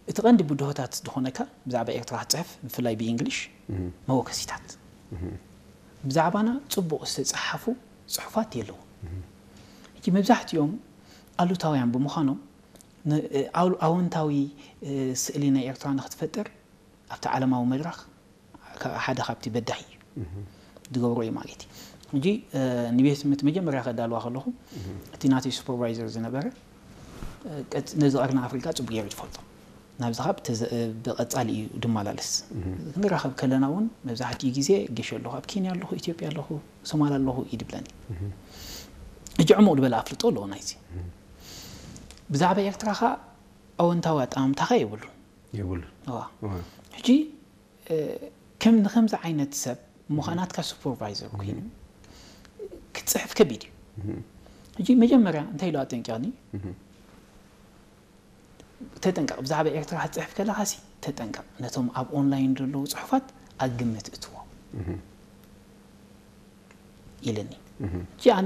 እቲ ቀንዲ ብድሆታት ዝኾነካ ብዛዕባ ኤርትራ ክትጽሕፍ፣ ብፍላይ ብእንግሊሽ፣ መወከሲታት። ብዛዕባና ጽቡቕ ዝተጻሓፉ ጽሑፋት የለዉ። ሕጂ መብዛሕትኦም ኣሉታውያን ብምዃኖም፣ ን-፣ ኣው-፣ ኣወንታዊ፣ እ፣ ስእሊ ናይ ኤርትራ ንክትፈጥር ኣብቲ ዓለማዊ መድረኽ፣ ከ-፣ ሓደ ካብቲ በዳሂ እዩ። ዝገብሮ እዩ ማለት እዩ። ሕጂ፣ እ፣ ንቤት ትምህርቲ መጀመርያ ከዳልዋ ከለኹ፣ እቲ ናተይ ሱፐርቫይዘር ዝነበረ፣ እ፣ ቀጽ-፣ ነዚ ቀርኒ ኣፍሪቃ ጽቡቅ ገይሩ ዝፈልጦ። ናብዚ ካብ ተዘ-፣ እ፣ ብቐጻሊ እዩ ድመላለስ። ክንራኸብ ከለና እውን መብዛሕትኡ ግዜ ገሽ ኣለኹ፣ ኣብ ኬንያ ኣለኹ፣ ኢትዮጵያ ኣለኹ፣ ሶማል ኣለኹ እዩ ድብለኒ። ሕጂ ዕሙቕ ዝበለ ኣፍልጦ ኣለዎ ናይዚ። ብዛዕባ ኤርትራ ኸኣ ኣወንታዊ ኣጠማምታ ኸኣ የብሉን። የብሉን። እዋ። እዋ። ሕጂ፣ እ፣ ከም ንከምዚ ዓይነት ሰብ እሞ ኸኣ ናትካ ሱፐርቫይዘር ኮይኑ ክትጽሕፍ ከቢድ እዩ። ሕጂ መጀመርያ እንታይ ኢሉ ኣጠንቂቕኒ? ተጠንቀቕ፣ ብዛዕባ ኤርትራ ክትጽሕፍ ከለኻሲ ተጠንቀቕ፣ ነቶም ኣብ ኦንላይን ዘለዉ ጽሑፋት ኣብ ግምት እትዎ ኢልኒ። ሕጂ ኣነ